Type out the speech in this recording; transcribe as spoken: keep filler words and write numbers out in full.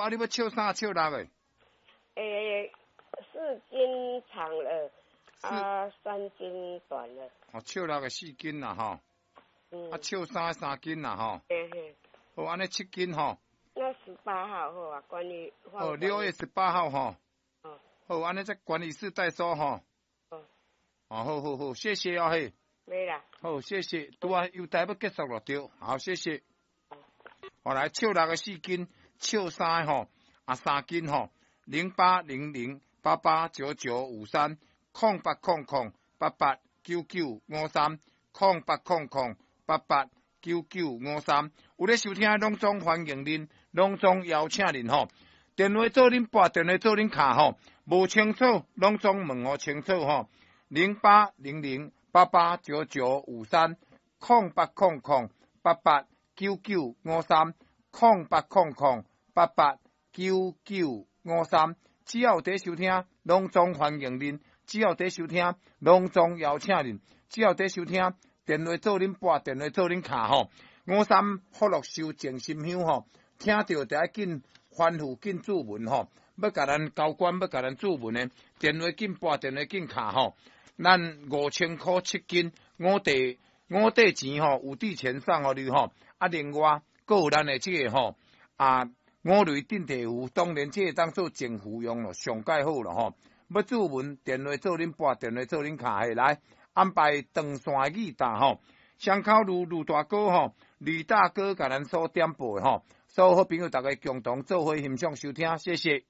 啊，你欲笑三笑六的？欸，四斤長了，啊，三斤短了。哦，笑六的四斤啦吼。嗯。啊，笑三三斤啦吼。嘿嘿。好，按呢七斤吼。那十八號好啊，關於。哦，六月十八號吼。哦。好，按呢在觀音寺代收吼。哦。哦，好好好，謝謝哦嘿。沒啦。好，謝謝。拄仔郵袋欲結束了對，好，謝謝。好來，笑六的四斤，笑三吼，啊三斤吼，零八零零八八九九五三，空八空空八八九九五三，空八空空八八九九五三。有咧收聽，攏總歡迎恁，攏總邀請恁吼。電話做恁撥，電話做恁敲吼，無清楚，攏總問予清楚吼。零八零零八八九九五三，空八空空八八九九五三，空八空空八八九九五三。只要有佇收聽，攏總歡迎恁；只要佇收聽，攏總邀請恁；只要佇收聽，電話做恁撥，電話做恁敲吼。五三福祿壽靜心香吼，聽著就愛緊吩咐緊注文吼，欲共咱交關，欲共咱注文的，電話緊撥，電話緊敲吼。咱五千箍七斤，五塊五塊錢吼，有佇錢送予你吼。啊，另外，閣有咱的這个吼啊，五雷鎮地符，當然這个當做淨符用咯，上蓋好咯吼。欲注文，電話做恁撥，電話做恁敲，嘿來安排長線的語答吼。雙口呂呂大哥吼，呂大哥共咱所點播的吼，所有好朋友逐家共同做伙欣賞收聽，謝謝。